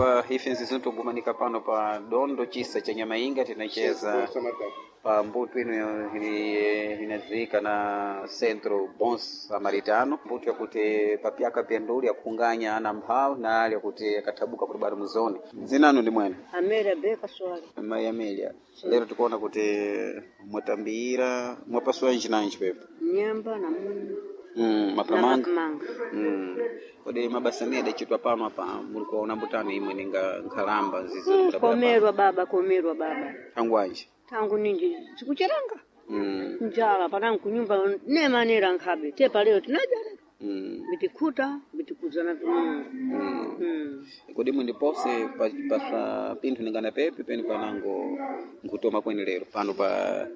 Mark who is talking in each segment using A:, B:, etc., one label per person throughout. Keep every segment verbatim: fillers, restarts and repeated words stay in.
A: Anyakuva ife nzizi tugumanika pano pa dondo chisa cha Nyamainga tinacheza pa mbuto ino ili- inadziwika na Centro Bom Samaritano, mbuto yakuti papyaka pyanduli yakunganya ana mphawu na ali yakuti yakathabuka kuti bado muzone. Zinanu ndi mwene
B: Amélia Beka Soares.
A: Mayi Amelia, lero tikuona kuti mwatambira mwapasula nchinanji pepo
B: Nyemba na munyu
A: mm,
B: na
A: mapamanga
B: mapamanga.
A: mm. Kodi mabasa amene adachitwa pano apa muli kuwaona mbutano imwe ninga nkhalamba zizo
B: Mm, komerwa baba, komerwa baba.
A: Tangwanji
B: Tangu ninji sikucheranga
A: mm.
B: njala panangu kunyumba nemanera nkhabe tepa leo tinajala
A: mm.
B: bitikhuta bitikuzana vimungu
A: mm.
B: mm.
A: Kodi mundipose paswa pinthu ningana pepe penu panango nkutoma kweni lero pano pa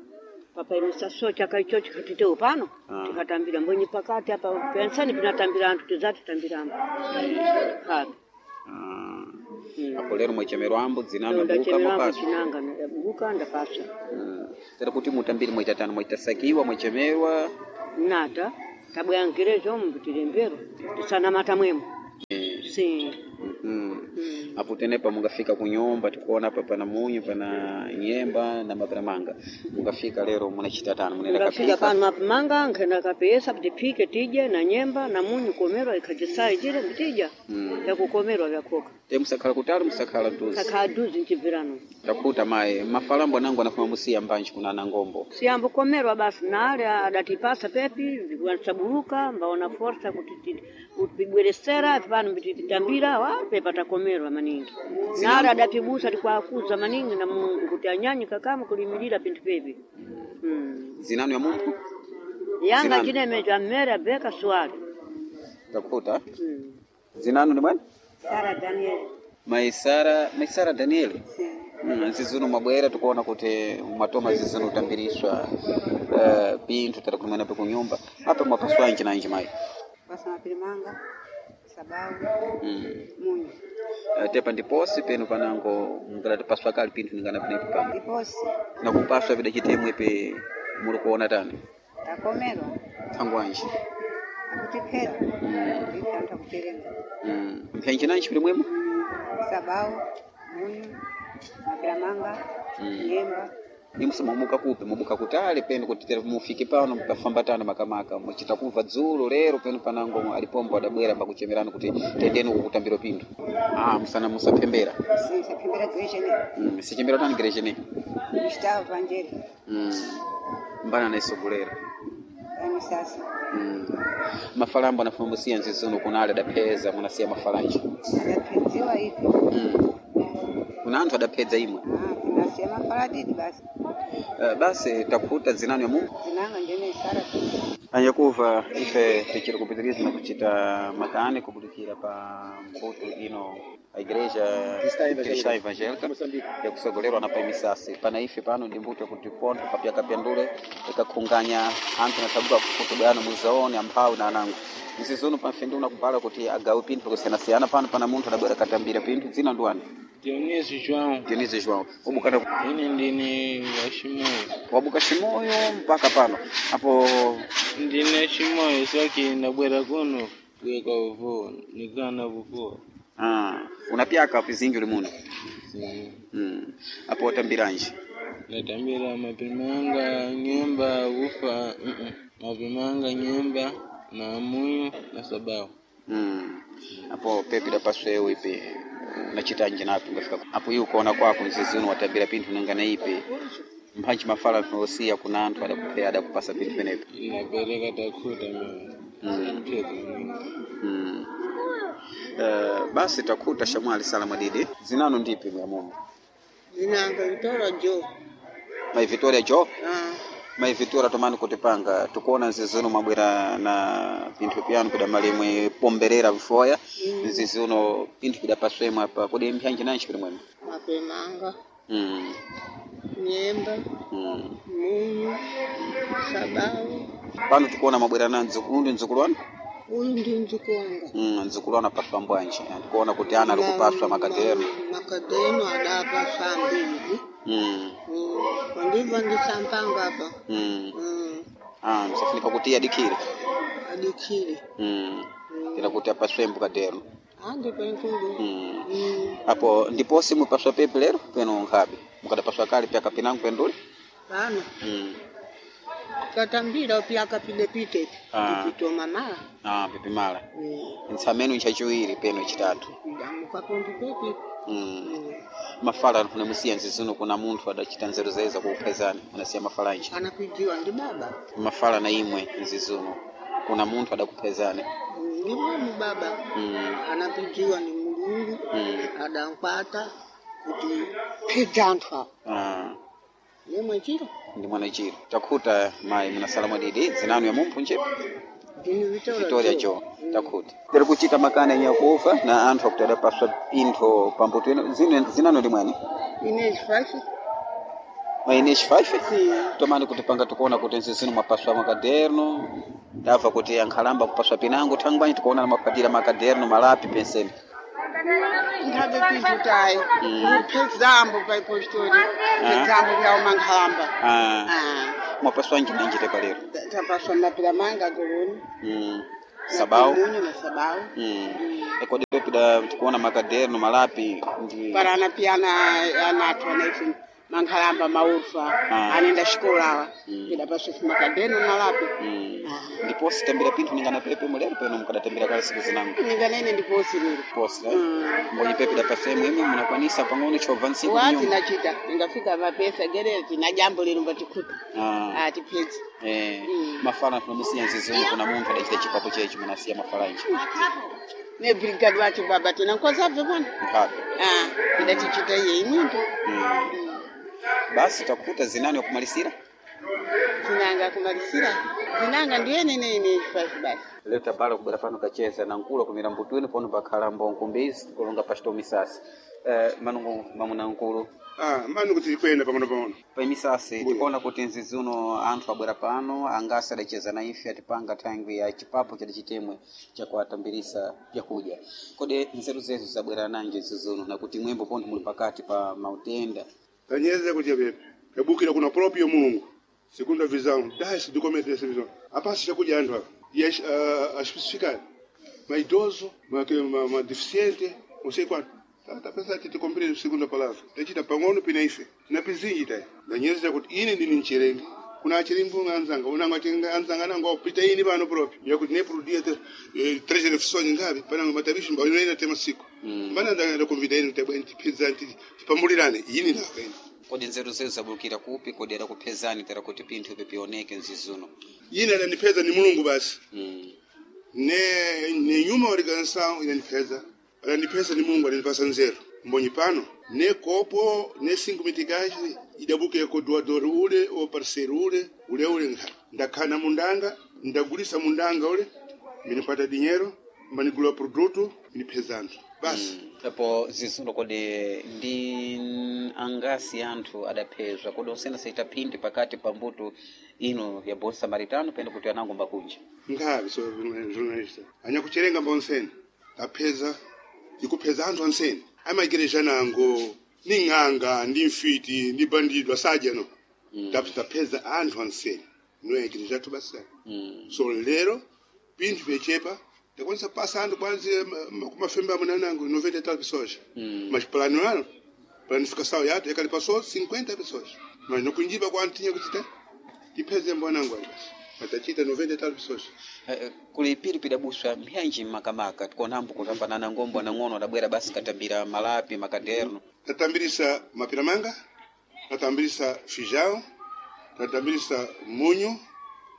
B: papa imisaso chaka icho chikhatitewo pano
A: Ah.
B: tikatambira mbwenyi pakati apa pensani pinatambira anthu tizatitambiramo khabe
A: ah,
B: Mm.
A: apo lero mwachemerwambo dzinano buka
B: ndachemerwambo
A: mwapaswa
B: chinanga buka ndapaswa
A: mm. Tera kuti mutambiri mwaitatano mwaitasakiwa mwachemerwa
B: nata tabwangirezo mbitilembero tisanamata mwemo
A: eh.
B: si
A: mm.
B: mm.
A: Apo tenepa mungafika kunyumba tikuona apa pana munyu pana nyemba na maperamanga mungafika lero munachita tano munenda
B: ngafika
A: kapika
B: pano mapamanga nkhenda kapesa kuti tije na nyemba na munyu komerwa ikhajisai jile mbitija
A: mm.
B: vyakukomerwa vyakhoka
A: Te musakhala kutali musakhala mtuzi
B: kakhala duzi nchibvirano
A: takuta mayi mafalambo anango anafuma musiya mbanji kuna anangombo
B: siyambo komerwa basi nale adatipasa pepi wansabuluka mbaona forsa kuti ti- kutibweresera pano mbititambira wa pepa takomerwa maningi nale adatibusa tikwakuza maningi na Mungu kuti anyanyi kakama kulimilira pinthu pepi mm.
A: zinanu ya munthu
B: yanga
A: Zinanu.
B: chinemecho amere beka swali
A: takuta
B: mm.
A: zinanu ni bwana
C: Sara Daniel.
A: mayi Sara mayi Sara Daniel
C: Sim.
A: mm, zizuno mwabwera tikuona kuti mwatoma zizuno utambiriswa uh, pinthu tera kumwena pe kunyumba apa mwapaswa nji nanji mayi
C: Pasa mapirimanga, sabau,
A: mm.
C: munyu.
A: Uh, tepa ndiposi penu panango mukadati paswa kali pinthu ningana penepo pano
C: Ndiposi
A: nakupaswa pidachitemwe pe muli kuona tani
C: takomerwa
A: thangwanji
C: akutiphera
A: mm.
C: ndife anthu akucherenga
A: mm. mphenji nanji pili mwemo
C: sabau, munyu, mapiramanga,
A: mm.
C: nyemba.
A: imusa mwamuka kupi mubuka kutali penu kuti tere mufike pano mukafamba tano makamaka muchita kumva dzulo lero penu panango alipombo adabwera mbakuchemerani kuti tendeni uku kutambiro pinthu ah, musana musaphembera
C: Sisaphembera gerejene
A: mm. sichembera tani gerejene
C: Gustavo Vanjeri
A: mm. mbana naisogolera
C: amisasa
A: mm. mafalambo anafuma musiya nzizuno kunali adapheza munasiya mafalanji
C: adaphedziwa ife
A: mm. kuna anthu adaphedza imwe
C: Ah, tinasiya mafaladidi basi
A: uh, basi takuta zinanu ya Mungu
C: zinanga ndene Sara
A: anyakuva ife tichiri kupitiriza na kuchita makani kubulikira pa mbuto ino a igreja cristã evangélica yakusogolerwa na paimisasi pana ife pano ndi mbuto yakuti pontho papyaka pyandule ikakhunganya anthu nathabuka kutubwano muzaone amphawi na anango nzizuno pamfenduna kubala kuti agawe pinthu kusiyanasiyana pano pana munthu adabwera katambira pinthu dzina ndiwani
D: Dionísio João,
A: Dionísio João ubukana
D: ine ndine wa Chimoio.
A: wabuka Chimoio mpaka pano apo
D: Ndine Chimoio só que ndabwera kuno kuyeka uvuwa, nikana kuvuwa.
A: ah, unapyaka pizingi uli muno
D: Sim.
A: mm. apo watambiranji
D: Ndatambira mapimanga, nyemba, ufa, uh -uh. Mapimanga, nyemba na munyu na sabau.
A: mm. apo pepi dapaswewo ipe unachitanji napi ungafika apo iwe kuona kwako mzizi uno watambira pinthu nangana ipe mphanji mafala osiya kuna anthu adakupea adakupasa pinthu penepo
D: Ndapereka takhuta mimi.
A: mm.
D: Pheza mimi.
A: mm. Uh, basi takhuta shamwali salamu didi zinanu ndipi mwamumu
E: Zinanga Vitória Joe.
A: mai Victoria Jo
E: Ah,
A: mai Victoria tomani kutipanga tukuona nzizi uno mwabwera na pinthu pyanu pidamali imwe pomberera vifoya
E: mm,
A: nzizi uno pinthu pidapaswemwe apa kodi mphanji nanji pili mwemwe
E: mapemanga,
A: mm.
E: nyemba,
A: mm.
E: munyu, sabau.
A: Pano tikuona mabwera na nzukulu ndi nzukulu wanu
E: Uyu ndi mdzukulu wanga.
A: mm, nzukulu wanu apaswa mbwanji tikuona kuti ana ali kupaswa makadeno
E: Makadeno adapaswa ambiri.
A: mm.
E: Mm, Kwandiva ndisampanga apa.
A: mm.
E: Mm,
A: ah, msafunika kuti adikire
E: adikire.
A: mm.
E: Mm,
A: ila kuti apaswembo kadeno
E: Andi penkulu.
A: Mm.
E: Mm.
A: Apo ndiposi mupaswa pepe lero peno nkhabe mukadapaswa kale pyaka pinango penduli.
E: Pano
A: Mm.
E: tatambira pyaka pidepite
A: Ah.
E: tipitoma mala.
A: Ah, pipimala.
E: Mm.
A: Ntsameno nchachiwiri peno chitatu.
E: Idamuka pondi pepi.
A: Mm.
E: Mm.
A: Mafala kunamusiya nzizuno kuna munthu adachita nzeru zeza kuuphezani unasiya mafala nji.
E: Anapijiwa ndi baba.
A: Mafala na imwe nzizuno kuna munthu adakuphezani.
E: Mm, Ndi mwamu baba.
A: Mm.
E: Anapijiwa ni Mulungu.
A: Mm.
E: Adankwata kuti phedza anthu awa.
A: Ah.
E: Nemwe chiro.
A: Ndi mwana chiro takhuta mayi munasala mwadidi dzinanu ya mumphu nje
E: Ndini Victoria
A: Victoria
E: Joe.
A: Jo takhuta tiri kuchita makani anyakufa na anthu akuti adapaswa pintho pambuto ino zine zinanu ndi mwani
E: Inês Faife.
A: maineshi five tomani kuti panga tikuona kuti nzizino mwapaswa makaderno ndabva kuti ankhalamba kupaswa pinango thangwanyi tikuona na makwatira makaderno malapi penseni.
E: Nthabe pinthu tayi. Kuphedzambo pa ipostori. Phedzambo vya umankhalamba.
A: Ah,
E: Ah.
A: mwapaswa njinanjite palero.
E: Tapaswa mapira manga goloni.
A: Mm. Sabau.
E: Munyu na sabau.
A: Mm. Ekodi pepida tikuona makaderno malapi ndi
E: Para anapiyana anathu anaife mankhalamba maurfa
A: Ah.
E: anenda xikolawa.
A: Mm.
E: Pidapaswa makadeno nalapi.
A: Mm. Ndiposi tambira pinthu ningana pepe mulero peno mukadatambira kale siku zinango.
E: Ninganene ndiposi lero.
A: Posi eh?
E: Mm.
A: Mbonyi pepe dapasemu imwe munakwanisa pang'ono chobva ntsiku
E: Wati
A: nyumba.
E: nachita ningafika mapesa gerera tina jambo lero mbatikhuta.
A: Ah.
E: Ah tipedza.
A: Eh,
E: Mm.
A: mafala tunamusiya nzizungu kuna munthu adachita chipapo chechi munasiya mafala nji.
E: Ne brigade wacho baba tina nkozabve pano.
A: Nkhabe.
E: Ah, idatichita iye imwinto.
A: Mm. Basi takuta zinani wakumalisira.
E: Zinanga kumalisira. Zinanga ndiye nene ine five basi.
A: Lero tabala kubwera pano kacheza na nkulu kumira mbutwini pono pakhala mbonkumbizi kulonga pachito misasi. Eh, manungu mamuna nkulu.
F: Ah, mani kuti tikwenda pang'ono pang'ono.
A: Pa misasi
F: Mbuya.
A: tikuona kuti nzizuno anthu abwera pano angasi adacheza na ife atipanga thangwi ya chipapo chadachitemwe chakuatambirisa vyakudya. Kodi nzeru zezu zabwera nanji nzizuno na kuti mwembo pontho muli pakati pa mautenda.
F: Tanyeze kuti pepe. Tabukira kuna proprio Mulungu. Segunda visão, dá-se de comer dessa visão. A passa já cuidando. E as, ah, as especificar. Mas idoso, mas, mas, mas deficiente, não sei quanto. Tá, tá pensando que te cumprir a segunda palavra. Tachita pang'ono pinaife. Na pizinji tai. Danyeze kuti ine ndini nchirengi. Kuna achiringu anzanga, unanga chinga anzanga nango pita ini pano proprio. Yakuti ne produzia te eh, três refeições ngapi, pananga matabishi mba inoenda tema siku.
A: Mm.
F: Mbana ndanga convidar ini tabwe tipedza tipambulirane ini nawe ini.
A: Kodi nzeru zezu zabulukira kupi kodi adakuphezani tera kuti pinthu ipi pioneke nzizuno.
F: Ine adanipeza ni Mulungu basi.
A: Mm.
F: Ne ne nyuma walikansa inanipeza. Adanipeza ni Mulungu adanipasa nzeru. Mbonyi pano ne kopo ne cinco mitikaji idabuke ko doador ule o parceiro ule ule ule nkha. Ndakhana mundanga ndagulisa mundanga ule minipata dinheiro manigula produto minipezanzo basi.
A: Apo zizuno kodi ndi angasi anthu adaphezwa kodi osena saita phindi pakati pa mbuto ino ya Bom Samaritano pene kuti anango mbakunja.
F: Nkhavi so jornalista anyakucherenga mbonseni tapeza ndikupheza anthu anseni amaigreja nango ni ng'anga ndi mfiti ndi bandido asadya no
A: Mm.
F: mm. tapeza anthu anseni no igreja athu basa
A: Mm.
F: so lero pinthu pyechepa takwanisa pasa anthu kwanzi kumafembe amuna nango noventa e tal pessoas
A: Mm.
F: mas plano ano planificação yathu yakali passou cinquenta pessoas mas nokunjipa kwa anthu tinha kuchita tipeze mbonango ali basi matachita noventa e tal pessoas.
A: Eh, kuli pili pidabuswa mbyanji makamaka tikuonambo kutambanana ngombo anang'ono adabwera basi katambira malapi makaderno.
F: Tatambirisa mapiramanga, tatambirisa feijão, tatambirisa munho,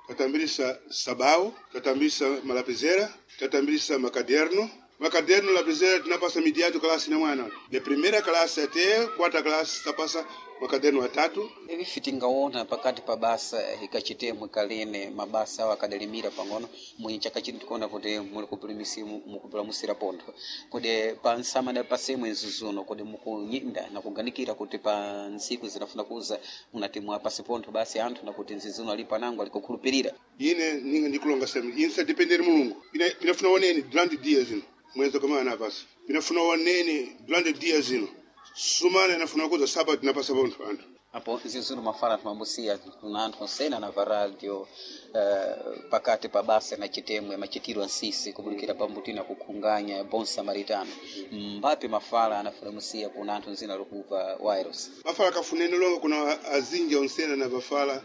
F: tatambirisa sabao, tatambirisa malapizera, tatambirisa macaderno. Macaderno, lapizera tinapasa mediato classe na mwana. De primeira classe até quarta classe tapasa macaderno atatu.
A: Ivi tingaona pakati pa basa ikachitemwe kalene mabasa awo akadalimira pang'ono mwinyi chaka chino tikuona kuti muli kupulimisi mukupulamusira pontho kodi pa nsamana pasemwe nzuzuno kodi mukunyinda na kuganikira kuti pa ntsiku zinafuna kuza munati mwapasi pontho basi anthu nakuti nzizuno ali panango alikukhulupirira.
F: Ine ninga ndikulonga sema ine sadependere Mulungu. Ine pinafuna onene durante dias ino. Mwezi kama anapasa. Pinafuna onene durante dias ino. Sumana inafuna kuza sábado napasa pontho anthu.
A: Apo zizulu mafala tumambusiya kuna anthu onsena na varadio uh, pakati pa basa na chitemwe machitiro ansisi kubudikira pambutina kukhunganya bon samaritano mbapi mafala anafulamusiya kuna anthu nzina lokuva wireless
F: Mafala kafuneni longa kuna azinja onsena na vafala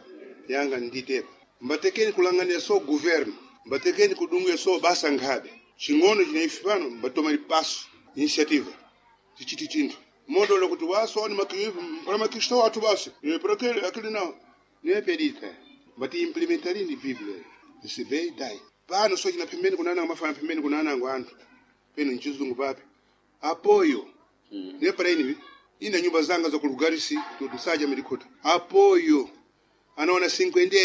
F: yanga nditepa mbatekeni kulangania so governo mbatekeni kudunge so basa nkhabe ching'ono china ife pano mbatoma lipaso initiative tichiti chinthu modolo kuti waso ni para makristo wathu basi Eh, para aquele aquele não não pedita mbati implementarini biblia receber dai pano so china pembeni kunana mafana pembeni kunana anthu peno nchizungu papi apoyo mm. ne para ini ina nyumba zanga za kulugarisi tusaja mirikuta apoyo anaona cinquenta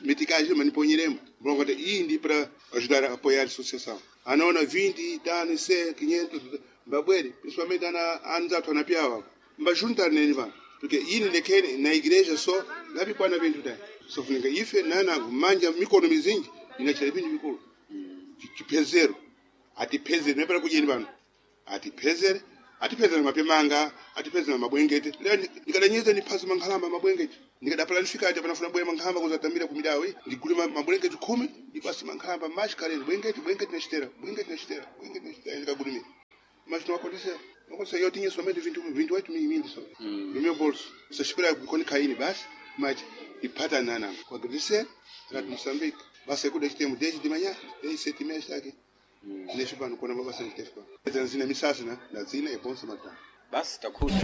F: meticais maniponyeremo mlongo iyi ndi para ajudar a apoiar a associação anaona vinte tano cem quinhentos mbabwere principalmente ana anzathu anapyawa mbajuntar neni vano porque ini lekene na igreja só lapikwana vinthu dai sofunika ife nanango manja mikono mizinji inachita vinthu vikulu chipezero atipezere nepera kudyeni pano atipezere atipezere mapemanga atipezere mabwengete lero ndikadanyeza ndiphasa mankhalamba mabwengete ndikadapala ndifikati panafuna bwera mankhalamba kuzatamira kumidawo ndigule ma- mabwengete khumi ndipase mankhalamba mashikaleni bwengete bwengete nachitera bwengete nachitera bwengete nachitera ndikagulumira mas não aconteceu. Não aconteceu. Eu tinha somente vinte, vinte e oito mil mil só, no meu bolso. Só esperar quando cair basi, mas ipata nana. Kwa agradecer, era de Moçambique. Basi kuda temos desde de manhã, desde sete e meia está aqui. Neste pano, quando eu vou passar no tempo. Zina misasa, né? Na zina é bom samaritano.
A: Basi takuta.